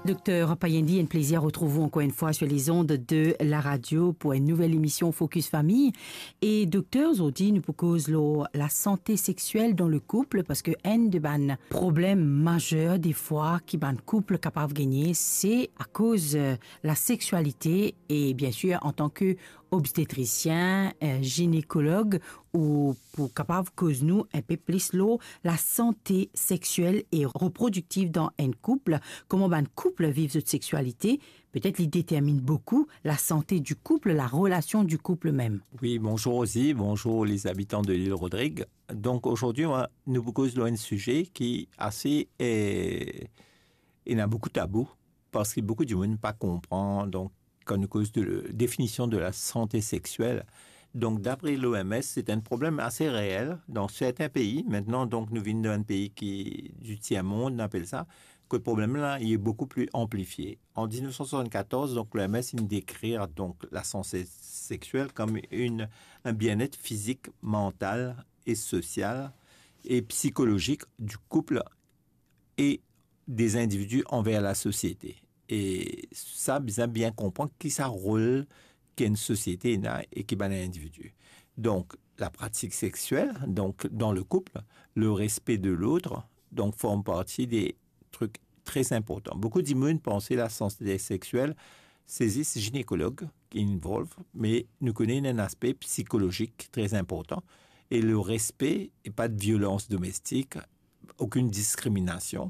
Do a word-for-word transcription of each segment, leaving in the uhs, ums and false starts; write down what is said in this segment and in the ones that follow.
Dokter Payendih, enn plezir retrouv ou ankor enn fwa sur les ondes de la radio pour une nouvelle émission Focus Famille. E dokter, zordi nou pou koz lor lasante seksuel dan le koup, parski enn de bann problem mazer defwa ki bann koup kapav gagne, se akoz, euh, lasexualité. E bien sûr, antan ki obstetrisien, euh, ginekolog, ou pou kapav koz nou enpe plis lor lasante seksuel e reprodiktiv dan enn koup, kouma bann koup viv zot sexualité, petet li determinn boukou lasante du koup, larelasion du koup mem. Oui, bonjour Rosie, bonjour les habitants de l'île Rodrigue. Donc aujourd'hui, on va, nou pou koz lor enn size ki ase, eh, ena boukou tabou, parski boukou dimoun pa konpran, donk, kan nou koz de definision de lasante seksuel. Donk, dapre l'O M S, se enn problem ase reel dan sertin pei. Aster, donk, nou vinn dan enn pei ki, du tiers monde, nou apel sa, kot problem la, li boukou pli anplifie. An diznef san swasannkatorz, donk, l'O M S inn dekrir, donk, lasante seksuel kom enn, enn bienet fizik, mantal e sosial e psikolozik du koup e des individi anver lasosiete. E sa, bizin bien konpran ki sa rol ki enn sosiete ena e ki bann individi. Donk, lapratik seksuel, donk, dan le koup, le respe de lot, donk, form parti de trik tre inportan. Boukou dimoun panse lasante seksuel, se zis ginekolog ki involve, me nou kone ena enn aspe psikolozik tre inportan. E le respe, e pa de violans domestik, okenn diskriminasion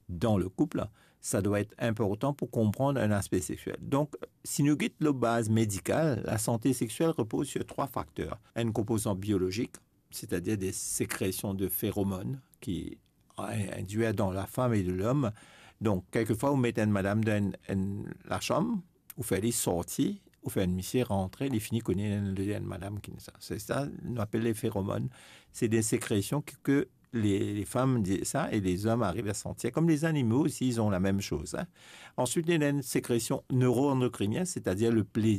dan le koup, sa dwa et inportan pou konpran enn aspe seksuel. Donk, si nou get lor baz medikal, lasante seksuel repoz sur trwa fakter. Enn konpozan biolozik, setadir de sekresion de feromon ki in-, indwir dan lafam e de lom. Donk, kelkefwa, ou met enn madam dan enn, enn lasam, ou fer li sorti, ou fer enn misie rantre, li fini kone enn, enn madam ki sa. Se sa, nou apel le feromon. Se de sekresion ki, ki le, lefam dir sa e lezom ariv a santir. Kom lezanimo osi, ils ont la mem soz, hein. Answit, ena enn sekresion neuroendokrinien, setadir le plezir.